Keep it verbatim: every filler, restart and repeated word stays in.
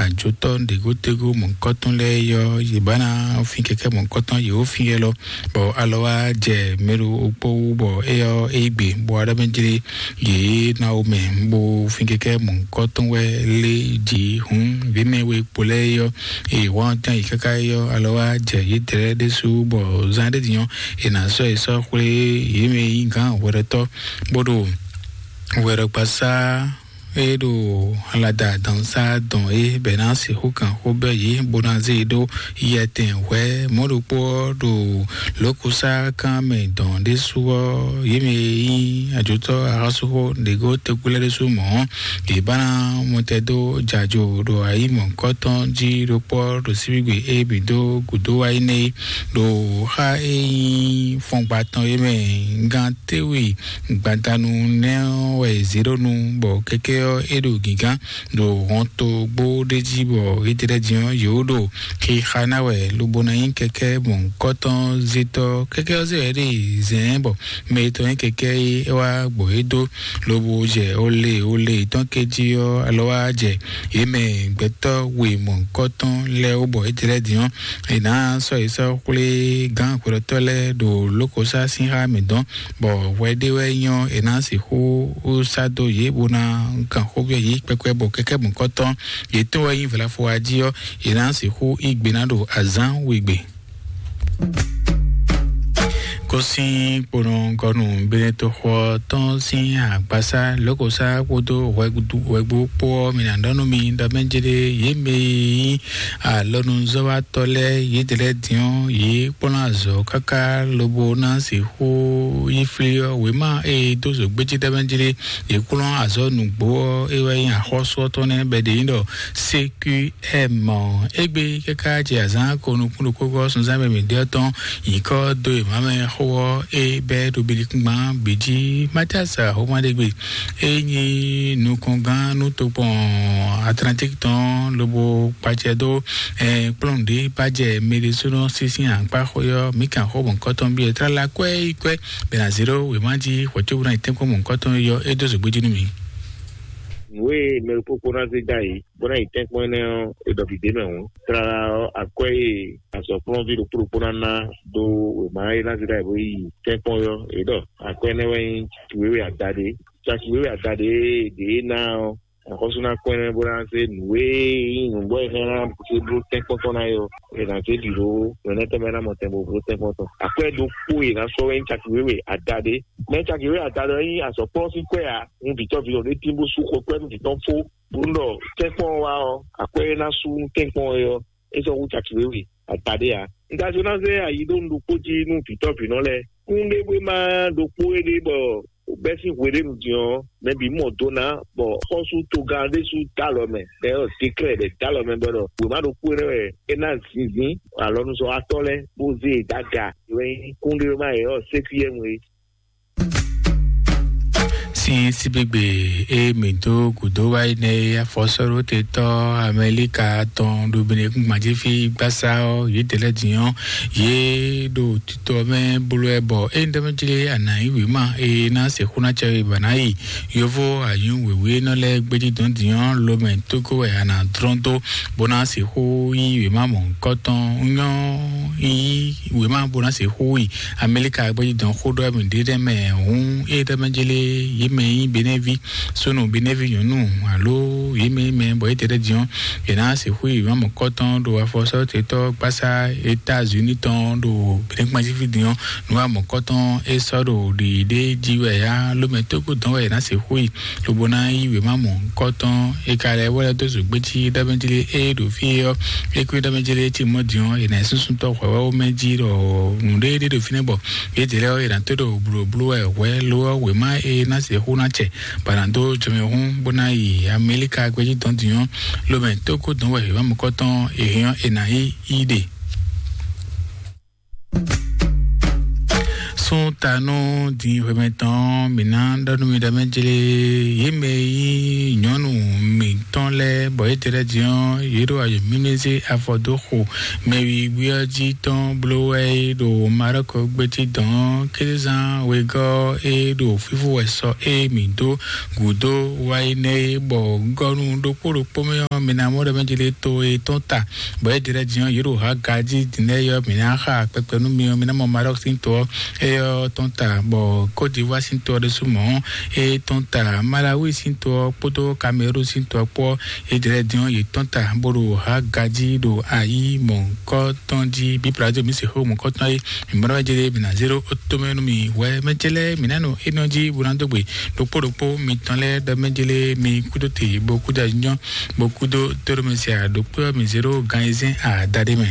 ajotɔ́ ɖěgótegó mɔ̌hunkɔtɔn lɛ́ɛ yɔ yě ba ná fin kɛkɛ́ mɔ̌hunkɔtɔn yě wó fin yɛ lɔ, bɔ alɔ wá jɛ mɛɖo okpó wú, bɔ éyɔ é gbe bɔ aɖɔ́ mɛ jlé yě ná wo mɛ, bó fin kɛkɛ́ mɔ̌hunkɔtɔn wɛ lé jǐ hǔn vǐ mɛ we kpo lɛ́ɛ yɔ eye wǎn tán yi káká yɔ alɔ wá jɛ yě dlɛ́ ɖésú, bɔ zán ɖé din ɔ́ è nǎ sɔ́ è sɔ́ xwlé yě mɛ nyí gǎn hwɛɖɔtɔ́ bó ɖo hwɛɖɔgbasá é ɖo alada dɔnsá dɔn é bɛ ná sixú kan xó bɛ́ yě bó ná zé e ɖó yɛtɛn hwɛ̌ mɔ̌ ɖokpó ɔ́ ɖo lǒkúsá kan mɛ dɔn ɖésú ɔ́, yě mɛ e nyí ajotɔ́ axɔ́súxó ɖěgó tokpó lɛ́ɛ ɖésú mɔ̌ ɔ́, yě ba ná mɔtɛn dó jǎjo ɖo ayǐ mɔ̌hunkɔtɔn jí ɖokpó ɔ́ ɖo síbígbe é bǐ dó gǔdo wá yi nɛ́ é ɖo xá e nyí fɔngba tɔn é mɛ gán téwì gbadanu nɛ́ ɔ́ wɛ è zě ɖó nu, bɔ kɛkɛ́ ɔ́ é ɖo gǐgán ɖo hɔntogbó ɖé jí, bɔ étɛ́ din ɔ́ yě wó ɖo xixa ná wɛ lobo ná nyí kɛkɛ́ mɔ̌hunkɔtɔn zétɔ́. Kɛkɛ́ ɔ́ zé wɛ ɖe zɛ̌n bɔ mɛ e tɔn nyí kɛkɛ́ é é wá gbɔ é dó, lobo jɛ ole ole tɔn ké jí ɔ́ alɔ wá jɛ yě mɛ gbɛtɔ́ we mɔ̌hunkɔtɔn lɛ́ɛ wó, bɔ étɛ́ din ɔ́ è nǎ sɔ́ yě sɔ́ xwlé gǎn hwelɔ́tɔ́ lɛ́ɛ ɖo lǒkɔ́sá sín xá mǐtɔn, bɔ hwɛ ɖé wɛ nyɔ́ è nǎ sixú sá dó yě bó ná kan xó byɔ́ yě kpɛkpɛ, bɔ kɛkɛ́ mɔ̌kɔtɔn yětɔn wɛ nyí vlafo wa jí ɔ́, è nǎ sixú yí gbe ná ɖo azǎn wegbe. Kó sín kponɔgɔnu Benetoxɔ tɔn sín agbasá lǒkɔ́sá kpódó hwɛgbó kpó ɔ́, mi ná ɖɔ nú mi ɖɔ mɛ jɛɖe yě mɛ e nyí alɔnuzɔ́watɔ́ lɛ́ɛ yědɛɛ lɛ́ɛ din ɔ́, yě kplɔ́n azɔ̌ káká lobo ná sixú yi flí ɔ́. Wěma e dó zǒgbéjí ɖ'é mɛ jlé yě kplɔ́n azɔ̌ nǔgbó ɔ́, é wɛ nyí axɔ́sú ɔ́ tɔn nɛ́ bɔ è ɖe nyí ɖɔ C Q M. Égbé káká jɛ azǎn ko nukún ɖokpó gɔ́ sunzán mɛ mǐ ɖe ɔ́ tɔn nyǐkɔ dó e mǎ mɛ xó ɔ́, é bɛ́ ɖo bilikúngban bǐ jí. Matias Ahomaɖegbe é nyí nukɔngán nú tokpɔn Atlantique tɔn lobo kpacɛ dó kplɔ́n ɖě bá jɛ mɛɖésónɔ sísí akpá xó yɔ mǐ kan xó mɔ̌kɔtɔn byɔ́ tlala kwɛ́ yi kwɛ́ bɛ ná zé ɖó wěma jí hwɛ̌cóbúná yi tɛ́nkpɔ́n mɔ̌kɔtɔn yɔ é dó zǒgbéjí nú mǐ. Nǔ e mɛ ɖokpó kpó ná zé dó ayǐ bó ná yi tɛ́nkpɔ́n énɛ́ ɔ́, è ɖɔ bǐ d'é mɛ hǔn. Tlala ɔ́, akwɛ́ e azɔ̌kplɔ́nví ɖokpó ɖokpó ná ná dó wěma e ná zé dó ayǐ bó yi tɛ́nkpɔ́n ɔ́, è ɖɔ akwɛ́ énɛ́ wɛ nyí wěwe adaɖé. Caki wěwe adaɖé e ɖě ná ɔ́, axɔ́sú ná kpɔ́n ɛ bó ná zé nǔ e nyí nǔgbó e hɛn ná zé bló tɛ́nkpɔ́n tɔn ná é ɔ́, è nǎ zé bǐ ɖó nǔ énɛ́ tɔn mɛ ná mɔ tɛn bó bló tɛ́nkpɔ́n tɔn. Akwɛ́ ɖokpó e è nǎ sɔ́ wɛ nyí caki wěwe adaɖé. Mɛ caki wěwe adaɖé ɔ́ nyí azɔ̌kplɔ́n sín kwɛ́ ǎ. Un vǐ tɔ́ ví ɖo ɖé tín bó sú xɔ kwɛ́ nú vǐ tɔ́n fó. Bó ɖɔ tɛ́nkpɔ́n ɔ́ wá ɔ́, akwɛ́ e ná sú nú tɛ́nkpɔ́n é ɔ́, é sɔ́ hú caki wěwe adaɖé ǎ. Un ka jló ná zé ayi ɖó un ɖokpó jí nú vǐtɔ́vǐnɔ lɛ́ɛ. Kúnɖéwéma ɖokpó éɖée bɔ bɛ́ sín hweɖénu din ɔ́, mɛ bǐ mɔ do ná, bɔ xɔ́sú togán ɖésú dó alɔ mɛ, ɖɛ ɔ́ dékrɛ́ ɖɛ dó alɔ mɛ bɔ ɖɔ wěma ɖokpó énɛ́ wɛ é ná zinzín alɔnuzɔ́watɔ́ lɛ́ɛ bó zé e dó aga. É wɛ nyí kúnɖéwéma yě ɔ́ sékúyɛ́nu é. Sín síbígbe e mǐ dó gǔdo wá yi nɛ́ é, afɔsɔ́ɖótetɔ́ Amɛlíka tɔn ɖo Benekúngban jí fí gbásá ɔ́, yědɛɛ lɛ́ɛ din ɔ́, yě ɖo titɔ mɛ bló wɛ bɔ é ɖɔ mɛ jlé a nǎ yí wěma e ná sixú ná cɛ we bɔ a nǎ yi yovó anyǔ wěwé nɔ lɛ́ɛ gbéjí dɔn din ɔ́, lomɛ tógó wɛ a nǎ dlɔ́n dó bó ná sixú yí wěma mɔ̌hunkɔtɔn. Nyɔ́ yí wěma bó ná sixú yi Amɛlíka gbéjí dɔn xó ɖɔ mì ɖé ɖɛ mɛ hǔn é ɖɔ mɛ jélé yě mɛ nyí Benɛ́ví, súnnu Benɛ́ví nyɔ̌nu alo yě mɛ nyí mɛ bɔ yě tɛ ɖɛ din ɔ́, yě ná sixú yi wěma mɔ̌kɔtɔn ɖo afɔsɔ́tetɔ́ gbásá États-Unis tɔn ɖo Benɛ́ kpanjíví din ɔ́. Nǔ wa mɔ̌kɔtɔn é sɔ́ ɖo ɖiɖi ɖé jí wɛ yá lómɛ tógó dɔn wɛ yě ná sixú yi lobo ná yí wěma mɔ̌hunkɔtɔn. È ka lɛ́ wɛ lɛ́ dó zǒgbéjí ɖɔmɛjlé e ɖo fí é ɔ́, é kú ɖɔmɛjlé e cí mɔ̌ din ɔ́, è nǎ súnsún tɔ́ hwɛ̌wɛ́wú mɛ jí ɖɔ nǔɖé ɖé ɖo fínɛ́ bɔ yědɛɛ lɛ́ɛ ɔ́, è nǎ tó ɖo blǒbló wɛ hwɛ̌ lo ɔ́, wěma e ná sixú ná cɛ bɔ è nǎ dó jɔmɛhún bó ná yi Amɛlíka gbéjí dɔn din ɔ́, lomɛ tógó dɔn wɛ wěma mɔ̌kɔtɔn è hɛn ɔ́, è nǎ yí yí ɖe. Tún ta nú din hwemɛ tɔn mǐ ná ɖɔ nú mi ɖɔ mɛ jlé yě mɛ yí nyɔ̌nu mǐtɔn lɛ́ɛ bɔ yě tlɛ din ɔ́ yě ɖo ayɔ mímí zé afɔ dó xo mɛ wíwí ɔ́ jí tɔn bló wɛ é ɖo Marɔ́kɔ gbéjí dɔn kézán wegɔ́ é ɖo fífó wɛ sɔ é mǐ dó gǔdo wá yi nɛ é bɔ gɔ́nu ɖokpó ɖokpó mɛ ɔ́ mi ná mɔ ɖɔ mɛ jlé to é tɔn ta bɔ é tlɛ din ɔ́ yě ɖo ha gají din lɛ́ɛ yɔ mǐ ná xa kpɛkpɛ nú mi ɔ́ mi ná mɔ Marɔ́kɔ sín to ɔ́ éyɔ́ tɔn ta bɔ Côte d'Ivoire sín to ɔ́ ɖésú mɔ̌ é tɔn ta Malawi sín to ɔ́ kpódó Cameroun sín to ɔ́ kpó é jlɛ́ dín ɔ́ yě tɔn ta bó ɖo ha gají ɖo ayǐ mɔ̌kɔ tɔn jí bí Brazil mi se xó mɔ̌kɔ tɔn é mǐmɔ́ jɛ́ mǐ ná zéro ó tó mɛ nú mi wɛ mɛ jɛ́ lɛ́ɛ mǐ ná nɔ énɔ́ jí bó ná dó gbe ɖokpó ɖokpó mitɔn lɛ́ɛ ɖɔ mɛ jɛ́ lɛ́ɛ mi kúdó te bó kúdó anyɔ bó kúdó tóɖó mɛ se àɖokpó mi zéro gan ayizɛ́n àdáɖé mɛ.